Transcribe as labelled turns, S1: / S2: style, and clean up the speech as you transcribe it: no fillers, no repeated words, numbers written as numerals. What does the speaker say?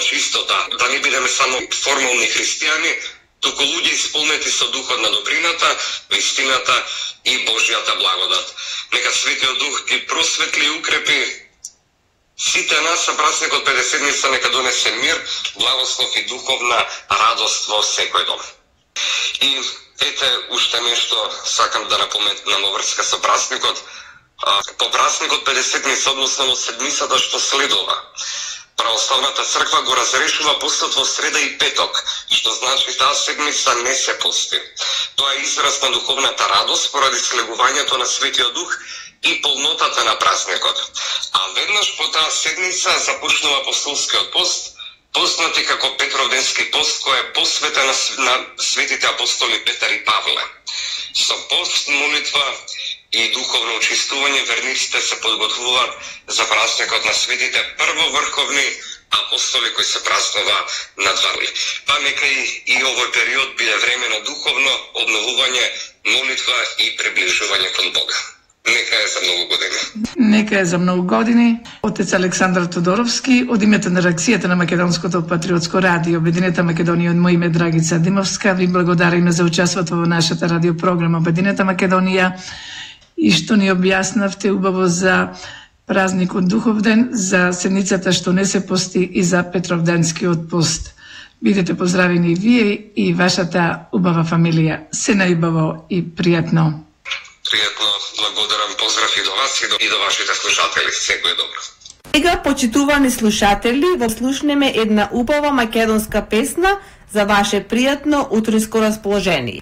S1: чистота, да не бидеме само формални христијани, туку луѓе исполнети со духот на добрината, вистината и Божјата благодат. Нека Светиот Дух ги просветли и укрепи сите нас, а празникот 50-ница нека донесе мир, благослов и духовна радост во секој дом. И ете уште нешто сакам да напоменам во врска со празникот. По празникот 50-ница, односно во седмицата што следува, Православната црква го разрешува постот во среда и петок, што значи таа седмица не се пости. Тоа е израз на духовната радост поради слегувањето на Светиот Дух и полнотата на празникот. А веднаш по таа седмица започнува апостолскиот пост, познат и како Петровденски пост, кој е посветен на светите апостоли Петар и Павле. Со пост, молитва и духовно очистување верниците се подготвуваат за празникот на светите првоврховни апостоли кои се празнува на 2 април. Па нека и овој период биде време на духовно обновување, молитва и приближување кон Бога. Нека е за многу години.
S2: Нека е за многу години. Отец Александар Тодоровски, од името на редакцијата на Македонското патриотско радио Обединета Македонија, од моје име Драгица Димовска, ви благодариме за учеството во нашата радиопрограма Обединета Македонија и што ни објаснавте убаво за празникот Духовден, за седмицата што не се пости и за Петровденскиот пост. Бидете поздравени и вие и вашата убава фамилија. Се најубаво и пријатно.
S1: Пријатно, благодарам, поздрав и до вас и до вашите слушатели. Секој добро.
S3: Сега, почитувани слушатели, во слушнеме една убава македонска песна за ваше пријатно утринско расположение.